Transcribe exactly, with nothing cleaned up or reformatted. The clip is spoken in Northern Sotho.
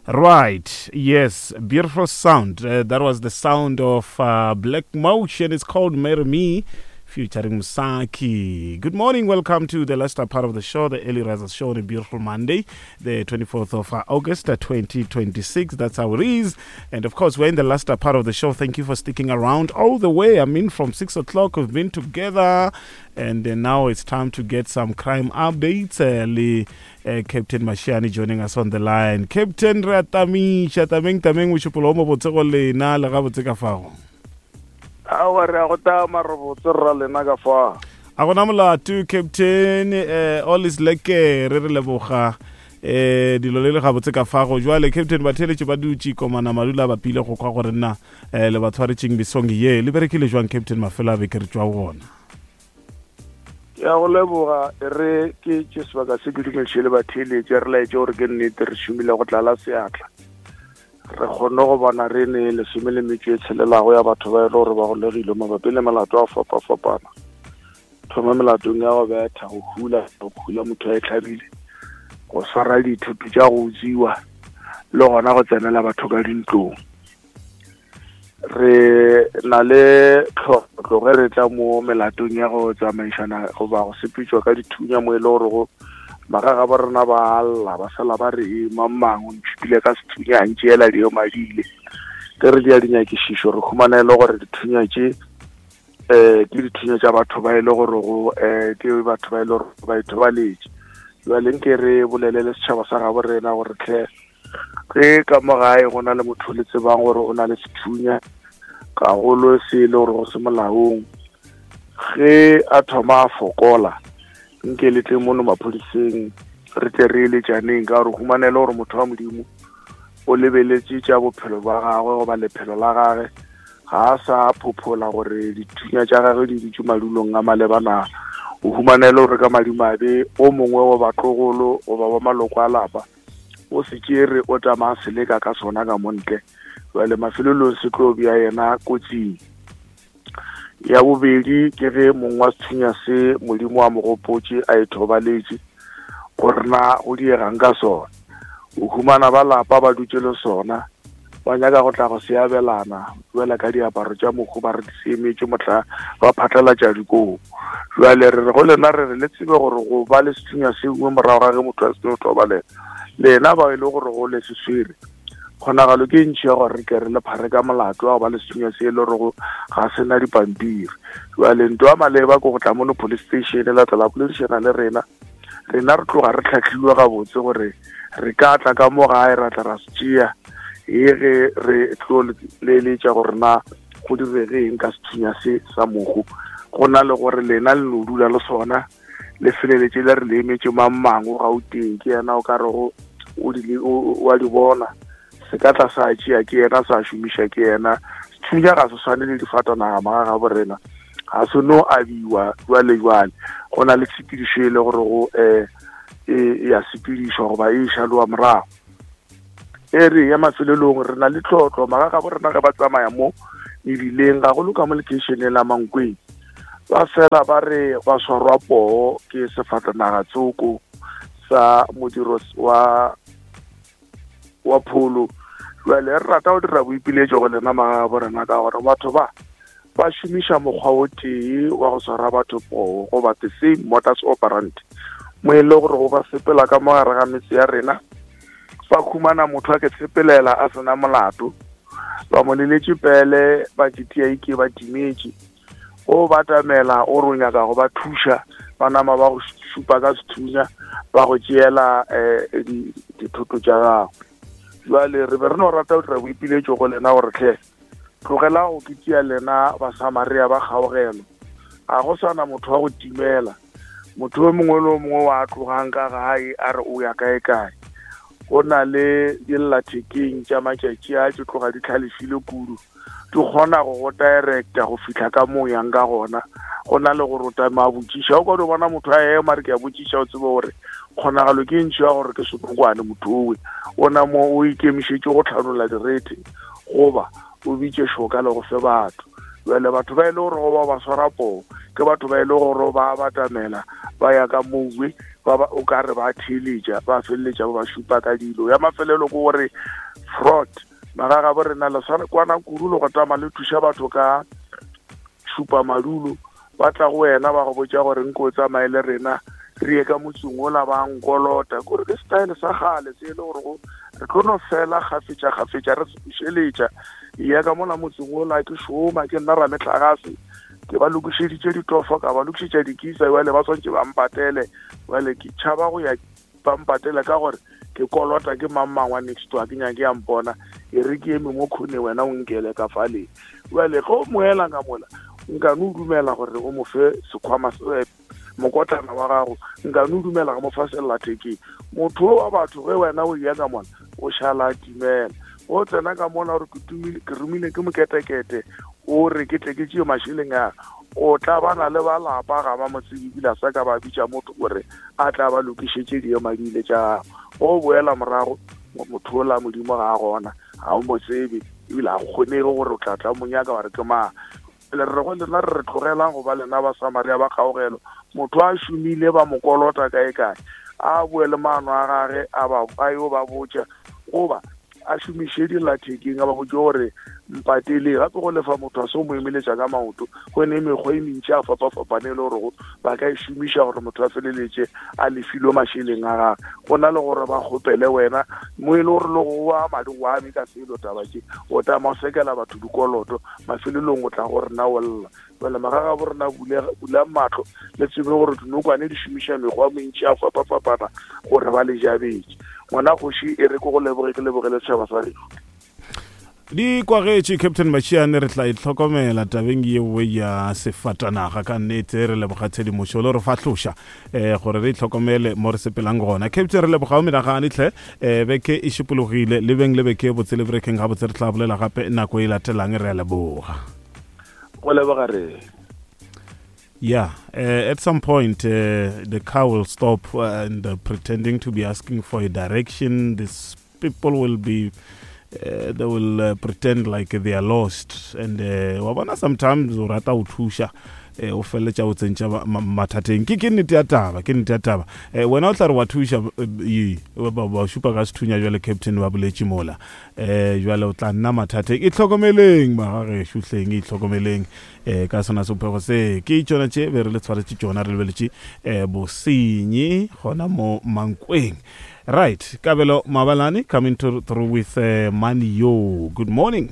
Right, yes, beautiful sound. Uh, that was the sound of uh, Black Motion. It's called Marry Me, featuring Musaki. Good morning, welcome to the last part of the show, the Early Risers Show on a beautiful Monday, the twenty-fourth of uh, August, uh, twenty twenty-six. That's how it is. And of course, we're in the last part of the show. Thank you for sticking around all the way. I mean, from six o'clock, we've been together. And uh, now it's time to get some crime updates. Uh, le, uh, Captain Mashiane joining us on the line. Captain re a tamiša, tameng tameng mošupologo o mobotse go lena le gabotse ka fao. Aowa, re a go tama re botse rra lena ka fa. A gona molato Captain, eh, all is lekker, re re leboga eh dilo le le gabotse ka fago. Jwale Captain, batheletše ba dutše komana madula ba pile go kwa gore nna eh, le ba tshwaretšeng mesong ye. Le berekile jwang Captain mafelo a beke re tšwa go ona? Ke a go leboga, e re ke tše sebaka se ke dumediše le batheeletše, re laetše gore ke nnete re šomile go tlala seatla. Re kgonne go bona re ne lesome le metšo e tshelelago ya batho ba e le gore ba golegile mabapi le melato a fapafapana. Thoma melatong ya go betha, go hula, go hula motho a e tlhabile, go swara dithoto tša go utswiwa, le gona go tsenela batho ka dintlong. Re na le tlhotlo ge re tla mo melatong ya go tsamaišana goba go sepetšwa ka dithunya mo e le gore go magaga ba rena ba lla, ba sala ba re e mang mang o ntšhupile ka sethunya a ntšeela dio madile. Ge re dia dinyakišišo re humana e le gore dithunya tše eh ke dithunya tša batho ba e le gore go eh ke batho ba e le gore ba ithobaletše. Jwale nke re bolele le setšhaba sa gabo rena gore tlhe ge ka mo gae go na le motho le tsebang gore o na le sethunya gagolo se e le gore go se molaong, ge a thoma a fokola nke le tle mono maphodiseng re tle re eletšaneng, ka gore humanele gore motho wa Modimo o lebeletše tša bophelo ba gagwe goba lephelo la gagwe, ga a sa phophola gore dithunya tša gagwe di dutše madulong a malebana. O humanele gore ka madimabe o mongwe wa batlogolo goba wa maloko a lapa o se tšere o tsamaya seleka ka sona ka montle, jwale mafelelong se tlo bea yena kotsing. Ya bobedi ke ge mong wa sethunya se Modimo a mo gopotše a ithobaletše gore na go diegang ka sona. O humana ba lapa ba dutše le sona, ba nyaka go tla go se abelana jwale ka diaparo tša mokgo ba re di se emetše mohla ba phatlalatša dikoo. Jwale re re go lena re re le tsebe gore go ba le sethunya se nngwe morago ga ge motho a seno thobalela, lena ba e le gore go le se swere, kgonagalo ke ntšhi ya gore re ke re le phare ka molato wa go ba le sethunya se e le gore ga sena dipampiri. Jwale ntho ya maleba ke go tla mono police station la tla la boledišana le rena. Rena re tloga re tlhahlilwe gabotse gore re ka tla ka mo gae ra tla ra se tšea, e ge re tlo leletša gore na go direge eng ka sethunya se sa mohu. Go na le gore lena le no dula le sona le feleletše le re le emetše mang mang o Gauteng, ke yena o ka rego o di o a di bona, se ka tla sa tšea ke yena, sa šomiša ke yena. Sethunya ga se swane le difatanaga maga ga borena, ga se no abiwa jwale jwale. Go na le tshepedišo e le gore go eh e ya sepedišwa goba e šaloa morago. E re ya mafelelong re na le tlhotlo maga ga borena ge ba tsamaya mo mebileng gagolo ka mo lekeišeneng la Mankweng, ba fela ba re ba swarwa poo ke sefatanaga tsoko sa modiro wa wa pholo. Jwale re rata go dira boipiletšo go lena maga ga borena ka gore batho ba ba šomiša mokgwa o tee wa go swara batho poo goba the same modus operandi, mo e le gore go ba sepela ka mo gare ga metse ya rena, ba khumana motho a ke sepelela a sena molato, ba mo leletše pele ba tšetia ike ba timetše, o ba tamela o re o nyaka go ba thuša, ba nama ba go šupa ka sethunya ba go tšeela eh dithoto tša gago. Jwale re be re no rata go dira boipiletšo go lena gore tlhe tlogela go ke tšea lena Basamaria ba kgaogelo, ga go sana motho wa go timela, motho o mongwe le o mongwe wa tlogang ka gae a re o ya kae kae. Go na le dillathekeng tša matšatši a tše tloga di tlhalefile kudu, di kgona go go directa go fihla ka mo yang ka gona. Go na le gore o tama a botšiša, o ka di bona motho a ema re ke a botšiša, o tsebe gore kgonagalo ke ntšhi ya gore ke senokwane motho owe o na mo o ikemišetše go tlhanola direthe goba o bitše šoka le go fe batho. Jwale batho ba e le gore go ba ba swara poo ke batho ba e le gore ba batamela ba ya ka mowe ba ba o ka re ba theeletša ba feleletša ba ba šupa ka dilo. Ya mafelelo ke gore fraud magaga bo rena le swana kwana kudu le go tama le thuša batho ka šupa madulo ba tla go wena ba go botša gore nko o tsamaye le rena re ye ka motseng ola ba nkolota kore ke style sa kgale se e le gore go re tlo no fela kgafetša kgafetša re se bušeletša ya ka mola motseng ola ke šoma ke nna rametlagase ke ba lokišeditše ditofo ka ba lokišetša dikisa jale ba swantše ba mpatele jale ke tšhaba go ya ba mpatele ka gore ke kolota ke mang mang wa next door ke nyake ya mpona e re ke eme mo khone wena o nkele ka fale. Jale ge o moela ka mola nka no dumela gore o mo fe sekhwama mokotlana wa gago nka no dumela go mo fa sellathekeng. Motho wa batho ge wena o ya ka mona o šala a timela o tsena ka mona gore ke romile ke moketekete o re ke tle ke tšee mašeleng a o tla bana le ba lapa ga ba mo tsebe ebile a sa ka ba bitša motho gore a tla ba lokišetše diemadile tša gago. O boela morago motho ola modimo ga a gona ga o mo tsebe ebile ga go kgonege gore o tla tla mo nyaka wa re ke mang. Le re go lena re re tlogelang go ba lena ba Samaria ba kgaogelo motho a šomile ba mo kolota kae kae a boe le maano a gage a ba a yo ba botša goba a šomiše dillathekeng a ba botše gore mpatele gape go lefa motho a se o mo emeletša ka maoto go ne mekgwa e mentši a fapafapane e le gore ba ka e šomiša gore motho a feleletše a lefilwe mašeleng a gage go na le gore ba kgopele wena mo e le gore le go wa madi go ame ka selo taba tše o tama o sekela batho dikoloto mafelelong o tla go rena o lla. Jale magaga bo rena bulang mahlo le tsebe gore dinokwane di šomiša mekgwa mentši a fapafapana gore ba le jabetše. Ngwana kgoši e re ke go leboge ke lebogele setšhaba sa gešo. Di kwagetše Captain Mashiane re tla itlhokomela tabeng yeo ya sefatanaga ka nnete re leboga tshedimošo le re fahloša um gore re itlhokomele mo re sepelang gona. Captain re leboga o menagane tlhe um beke e šipologile le beng le beke botse le berekeng gabotse re tla bolela gape nako e latelang re a leboga. Go leboga re. Yeah, uh, at some point uh, the car will stop and uh, pretending to be asking for a direction. These people will be Uh, they will uh, pretend like they are lost and wa bona sometimes o rata o thuša o feleletša o tsentša mathateng. Ke ke nnete ya taba ke nnete ya taba wena o tla re wa thuša ba šupa ka sethunya jwale captain ba boletše mola um jwale o tla nna mathateng. Itlhokomeleng magagešo hleng itlhokomeleng um ka sona sephego se ke tšona tše be re le tshwaretše tšona re lebeletše um bosenyi gona mo Mankweng. Right, Kabelo Mabalane coming to, through with uh, Money Yo. Good morning.